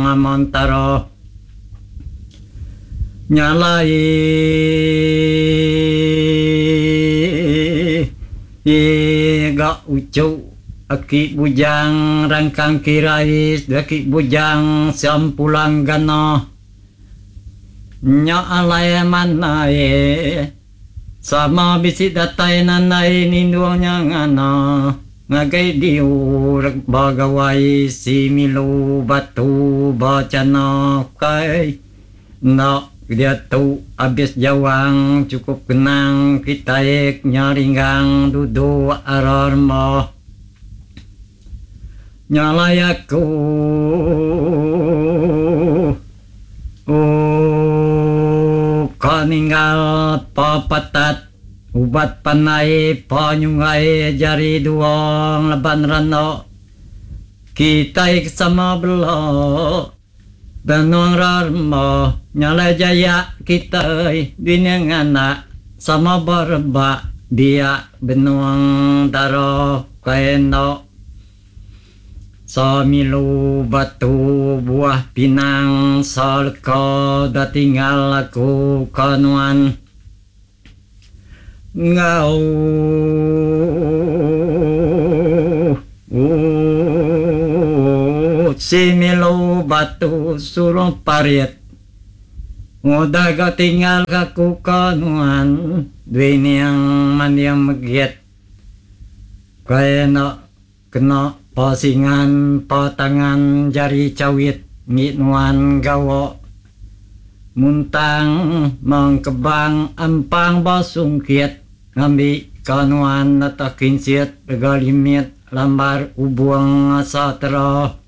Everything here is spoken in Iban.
Amontara. Nya alai ga uchu aki bujang rangkang kirai aki bujang Sempulang Gana. Nya alai manai sama bisi datai nandai nindung nya ngana ngagai diu ba gawai si milu batu ba chana kai enda diatu abis jawang chukup kenang kitai nya ringgang duduk ara rembah. Nya alai aku ka ninggal pa patat ubat pandai pa nyunggai jari dua ngelaban randa kitai ke sama bela benung rarma. Nya alai jaya kitai bini nganak sama berebak biak benung dara kai enda. Semilu batu buah pinang seleka da tinggal aku ke nuan enggau Semilu batu surung parit udah ga tinggal aku ke nuan duining manding megit kai enda Kena pasingan pa tangan jari chawit ngi nuan gawa muntang mengkebang ampang ba sungkit ngambi ka nuan nata kinsit rega limit lambar ubung asa tera.